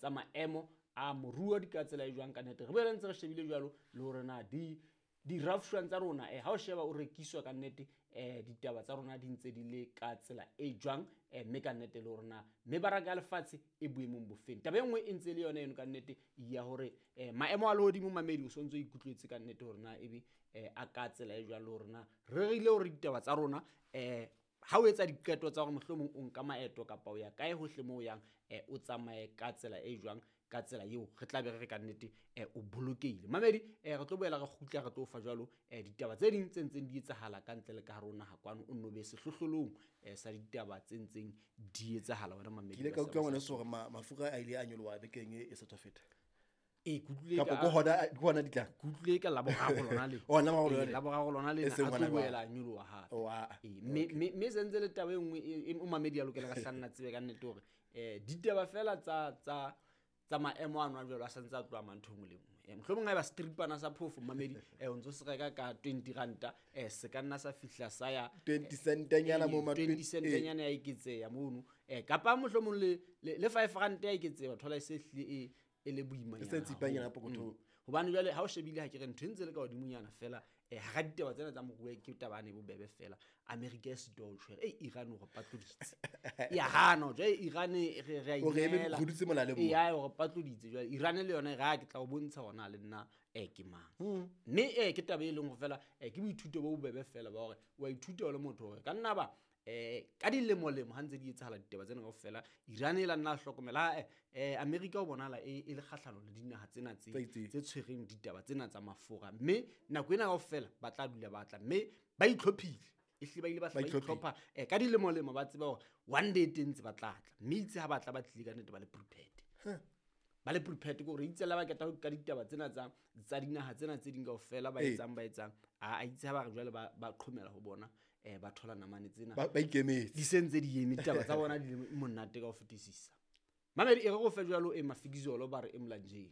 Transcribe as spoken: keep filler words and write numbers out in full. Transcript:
tsa maemo a moruo di ka tsela e jwang ka nnete. Re boele ntse re shebile jwalo le hore na di di-rafshwang tsa rona eh, ha o sheba o rekiswa ka nnete eh, ditaba tsa rona di ntse di le ka tsela e jwang eh, mme ka nnete le hore na mebaraka ya lefatshe e boemong bofeng. Taba e nngwe e ntse e le yona eno ka nnete ya hore eh, maemo a lehodimo mamedi o sontso o ikutlwetse ka nnete hore na ebe eh, a ka tsela e jwang le hore na re rerile hore ditaba tsa rona eh, ha o etsa diqeto tsa hore mohlomong o nka maeto kapa o ya kae hohle moo o yang eh, o tsamaye ka tsela e jwang, ka tsela eo re tla be re re ka nnete eh, o bolokehile. Mamedi eh, re tlo boela re kgutla re tlo fa jwalo eh, ditaba tse ding tse ntseng di etsahala ka ntle le ka hare ho naha kwano, o nno be sehlohlolong eh, sa ditaba tse ntseng di etsahala wena mamedi. Ke ile ka wa utlwa Seaba ngwaneso sa hore ma- mafura a ile a nyoloha bekeng e e sa tswa feta. Ee, ke utlwile Kapa ka- ke hona ke hona di tlang. ke utlwile ka Laboraro lona le. Oh, Laboraro lona Ee, le. Laboraro lona le E na, seng a tlo hona jwale. boela a nyoloha hape. Oh, ah, Ee, mme mme- mme se ntse le taba e nngwe e- e o mamedi a lokela ka hlanna tsebe ka nnete hore eh ditaba fela tsa tsa tsa maemo ano a jwalo a santse a tloha mang ntho e nngwe le nngwe. Eh, mohlomong haeba stripana sa phofo mamedi eh o ntso se reka ka twenty ranta eh se ka nna sa fihla sa ya twenty centanyana mo ma twenty twenty- centanyana ya eketseha mono eh kapa mohlomong le le le five rand ya eketseha wa thola e se hlile e e le boimanyana E se tsipanyana haholo. pokothong. Mm. Hobane jwale ha o shebile ha ke re ntho e ntse le ka hodimonyana fela eh hara ditaba tsena tsa moruo ke taba ane bobebe fela. America e sitwa ho tshwere eh Iran o re patloditse. Ya hana jwale Iran e re re a O re eme inehela. re dutse molaleng mo. Ee, ya o re patloditse jwale Iran le yona e re ha ke tla o bontsha hore na le nna eh ke mang. Mme eh ke taba e leng hore fela eh ke boithuto bo bobebe fela ba hore wa ithuta o le motho hore ka nna ba eh ka dilemo-lemo ha ntse di etsahala ditaba tsena kaofela Iran e la nna hlokomela eh, eh America o bonahala e, e le kgahlano le dinaha tsena tse Tse itseng. tse tshwereng ditaba tsena tsa mafura, mme nako ena kaofela ba tla dula ba tla mme ba itlhophile, ehlile ba ile ba Ba hla ba itlhophile. itlhopha eh ka dilemo-lemo ba tseba hore one day teng ntse ba tla tla, mme itse ha ba tla ba tlile ka nnete ba le prepared. Ba le prepared ke hore itse la ba keta ho ka ditaba tsena tsa tsa dinaha tsena tse ding kaofela ba Ee. etsang ba etsang a a itse ha ba re jwale ba ba qhomela ho bona eh ba thola namane tsena Ba ba ikemetse. di se ntse di eme ditaba tsa bona di le monate ka ho fetisisa. Mamedi e re go fe jwalo e mafikizolo ba re e molanjeni.